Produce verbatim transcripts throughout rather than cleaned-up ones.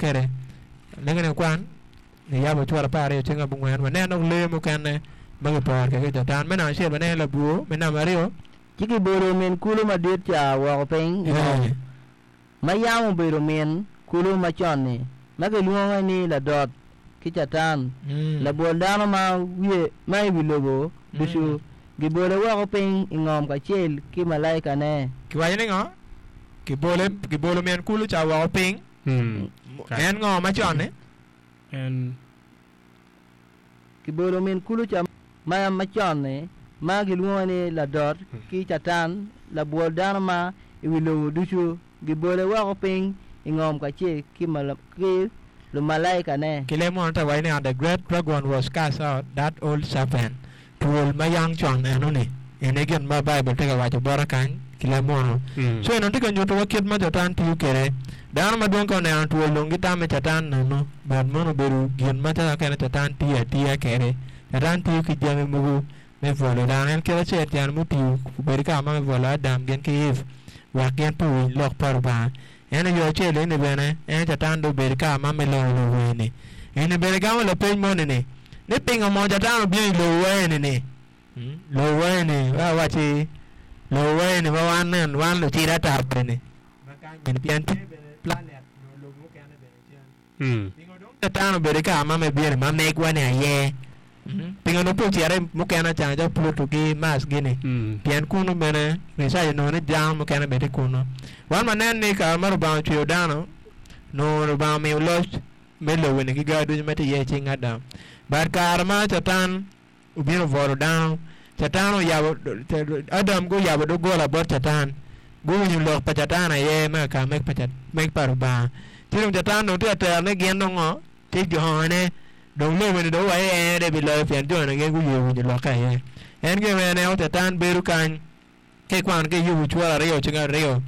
Kede lengene kwan Niyabo cura apar aryo ceng abongwen waneno lee mukene ma giporo kwede ki Catan. Me namba acel waneno labwor, me namba aryo Ci gibolo min kulu madit ca woko piny i ngom, eh, ma yam obedo min kulu macon-ni, ma gilwonge ni Ladot ki Catan, mm, labwol dano ma wiye ma i wi lobo ducu. mm. Gibole woko piny i ngom kacel ki malaikane. Kiwaco ni ngo? Kibole gibolo min kulu ca woko piny. Mm. En ngo macon-ni? En Gibolo min kulu ca ma macon-ni, ma gilwonge ni Ladot ki Catan, labwol dano ma i wi lobo ducu. Gibole woko piny i ngom kacel ki, mala- ki lumalaikane. Ki leb munu te waco ni and the great dragon was cast out, that old serpent. Twol ma yang con enoni. Ene gin ma Baibul tye ka waco bota kany ki leb munu. Mm. So eno tye ka nyuto wa kit ma Catan tiyo kwede. Dano madwong ka oneno twol dong gitamo ni Catan nono, but mono obedo gin ma kene Catan tiyo atiya kwede. Catan tiyo ki jami mogo me bwolo dano. En kit acel tyen mutiyo obedo ka ma me bwolo Adam gin ki Eve wek gin pe owiny lok pa Lubanga. En i yo acel eni bene en Catan dong obedo ka ma me loyo lobo eni. Eni bene gamo lapeny moni ni ni pingo mo Catan obino i lobo wa eni ni Hmm? Lobo wa eni wa waci lobo wa eni ma wan nen wan lucida ata eni ma kany eni pien tye bene planet nyo lobo mukene bene cen. Mm. Pingo dong Catan obedo ka ma me bino ma megwa ni aye. Hmm? Pingo dong pe ocito i mukene can calo Pluto ki Mars gini Mm. pien kunu bene research onongo ni dano mukene bene tye kunu. Wan wanen ni kare ma Lubanga ocweyo dano nongo Lubanga omiyo loc me lobo-ni ki gar ducu ma tye iye i cing Adam. But kare ma Catan obino obwolo dano, Catan oyabo Adam guyabo doggola bot Catan. Guwinyo lok pa Catan aye me ka meg pa Cat- meg pa Lubanga. Ci dong Catan dong tye ka tero ni gin dong ngo tye jone dong lobo-ni dong wa en de biloyo pien jone gin guye winyo lokke aye. En gin ma eneno Catan bedo kany ki kwano ki Yubu cura aryo ceng aryo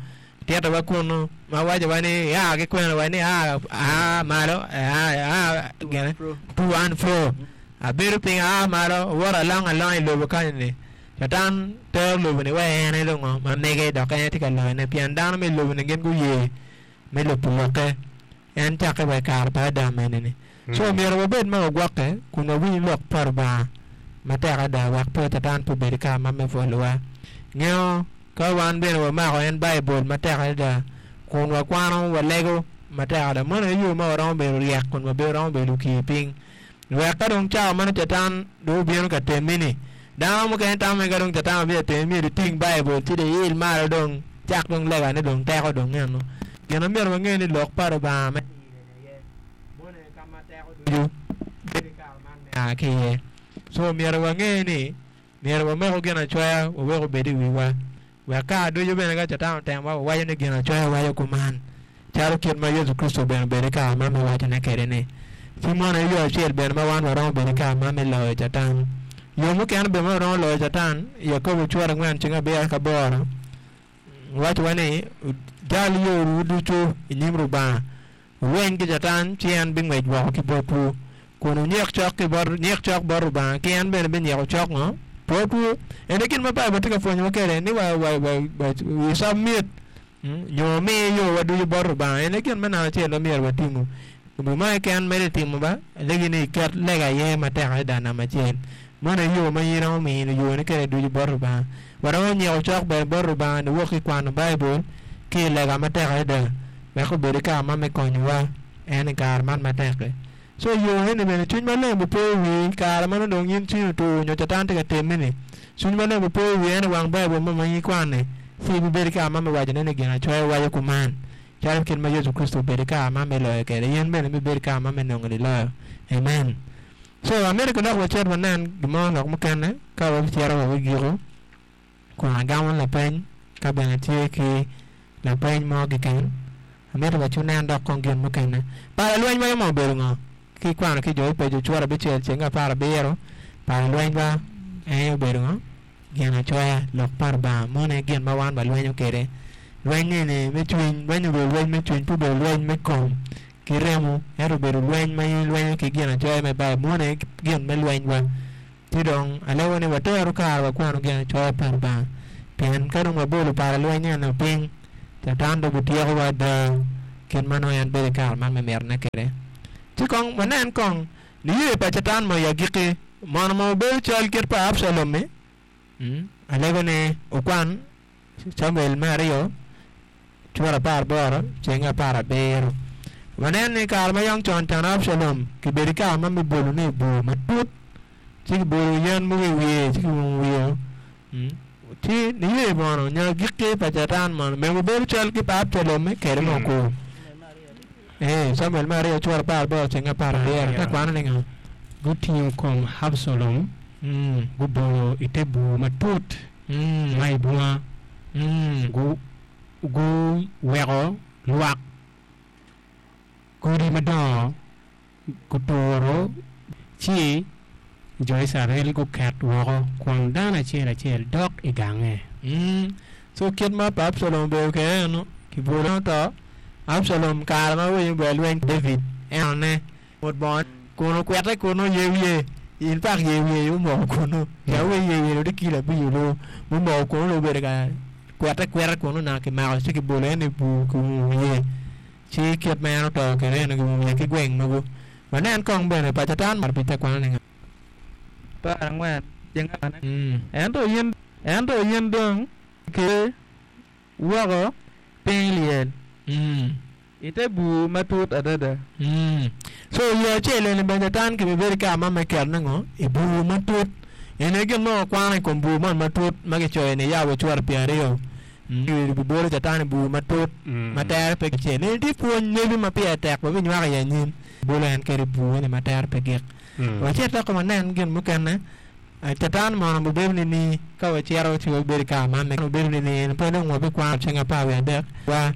titowa kunu ma wacowa ni ia ki kwena wa ni a a malo a a gine to and fro abedo piny aa malo awoto along along i lobo kany ni Catan tero lobo-ni wa en aye dong ngo ma mege dok en tye ka loyone pien dano me lobo-ni gin guye me lubo lokke en cakke wa i kare pa Adam eni-ni. So Mm. myero wabed ma wagwokke kun wawiny lok pa Lubanga matek ada wek pe Catan pe obed ka ma me bwolowa. Ngeyo ka wan bene wamako en Baibul matek adada kun wakwano walego matek adada meno aye yo ma waromo bedo ryek kun waromo bedo okir piny. Wek ka dong cawa meno Catan dong obino ka temmi-ni dano mukene tamo ni ka dong Catan obino ka temmi myero iting Baibul ci dong iil malo dong cak dong legane dong teko dong eno. Gin ma myero wange ni lok pa Lubanga me aye meno ka ma teko ducu bedo i kare man me a ki iye. So myero wange ni myero wamako ginacoya wawek obed i wiwa wek kare ducu bene ka Catan otemowa wawaco ni ginacoya waco kuman calo kit ma Yecu Kricito bene obedo i kare man me wacone kwede ni. Ci meno aye yo acel bene ma wan waromo bedo i kare man me loyo Catan. Yo mukene bene ma waromo loyo Catan, Yakobo cura angwen ceng abiro ki aboro wacowa ni jal yowu ducu i nyim Lubanga wulweny ki Catan ci en bingwec woko ki botwu kun wunyik cok ki bot nyik cok bot Lubanga ki en bene binyiko cok ngo botwu. Ene gin ma Baibul tye ka pwonyowa kwede ni wa wa wa wa we submit mm, nyo mi yowa ducu bot Lubanga. Ene gin me namba acel ma myero watimu. Gin mo keken mere itimo ba alegi ni iket lega iye matek adada namba acel. Meno aye yo ma in iromo miyo yoni kwede ducu bot Lubanga. Waromo nyiko cok bene bot Lubanga niwok ki kwano Baibul ki i lega matek adada wek obed i kare ma me konyowa en i kare man matek-ki. So yo eni bene cwiny maleng bipo i wii kare ma nongo dong in cwinyi otur nyo Catan tye ka temmi-ni. Cwiny maleng bipo i wii en i wang Baibul mo ma in ikwano-ni ci ibibedo i kare ma me wacone ni ginacoya waco kuman calo kit ma Yecu Kricito obedo i kare ma me loyo kwede in bene ibibedo i kare ma me nongo niloyo. Amen. So amito ki dok wacit wanen gin mo lok mukene ka wabicito wa wigiko kun agamo lapeny ka bene tye ki lapeny mo keken. Amito waci wunen dok kong gin mukene. Pala lweny ma mo obedo ngo? Ki kwano ki jo Epeco cura abicel ceng apar abiro pala lweny ba en obedo ngo? Gin acoya lok pa Lubanga meno aye gin ma wan walwenyo kwede. Lweny eni me cwiny, lweny obedo lweny me cwiny pe obedo lweny me kom ki remo ento obedo lweny ma in ilwenyo ki gin acoya me Baibul meno aye gin me lwenywa. Ci dong alego ni wateru kare wakwano gin acoya pa Lubanga pien ka dong wabolo pala lweny eno piny Catan dong bityekowa ada. Kit ma nongo en bedo i kare man me mitine kwede. Ci kong wanen kong niye pa Catan mo i agikki mono ma obedo cal kit pa Abcalom-mi. Mm. Alego ni okwan Camuel me aryo cura apar aboro ceng apar abiro. Wanen ni kare ma yam con can Abcalom kibedo i kare ma me bolone i bur matut ci kibolo yen mogo i wiye ci kiumo wiye. Mm. Ci niye mono nyo agikki pa Catan mono mego bedo cal ki pa Abcalom-mi kede mo kur. Eh, Camuel me aryo cura apar aboro ceng apar abiro. Te kwano ni ngo? Gutingo kom Abcalom Mm. gubolo i te bur matut Mm. ma i bunga Mm. gu guweko lwak godi madongo guturo ci jo Icrael guket woko kun dano acel acel dok i gange. Mm. So kit ma pa Abcalom obedo kwede eno kibolo to Abcalom kare ma winyo bene lweny David enone mot bongo kun okwete kun oye wiye in pak ye wiye omoko kunu ya wi ye wiye odi kilo abic olu mumoko kunu obedo ka kwete kweta kunu naka kimako ci kibolo en i bur kiumo wiye ci kit ma en oto kwede eno kiumo wiye ki gweng mogo wanen kong bene pa Catan mar pi te kwano ni ngo Apar angwen ceng apar Mm. ento in ento in dong ke woko piny i lyel Mm. i te bur matut adada. Mm. So yo acel eni bene Catan kibibedo i kare ma me ketone ngo i bur matut eni gin ma wakwano i kom bur man matut ma kicoyo ni Yabo cura pyera aryo Mm. Bibolo Catan i bur matut ma tere pe kicel eni tye pwony nebi ma pire tek wabinywako i anyim bolo en kede i bur eni ma tere pe gik wacit dok wanen gin mukene Eh, Catan mono obedo ni ni ka wacito ci wabedo i kare man obedo ni ni pe dong wabikwano ceng apar wiye adek wa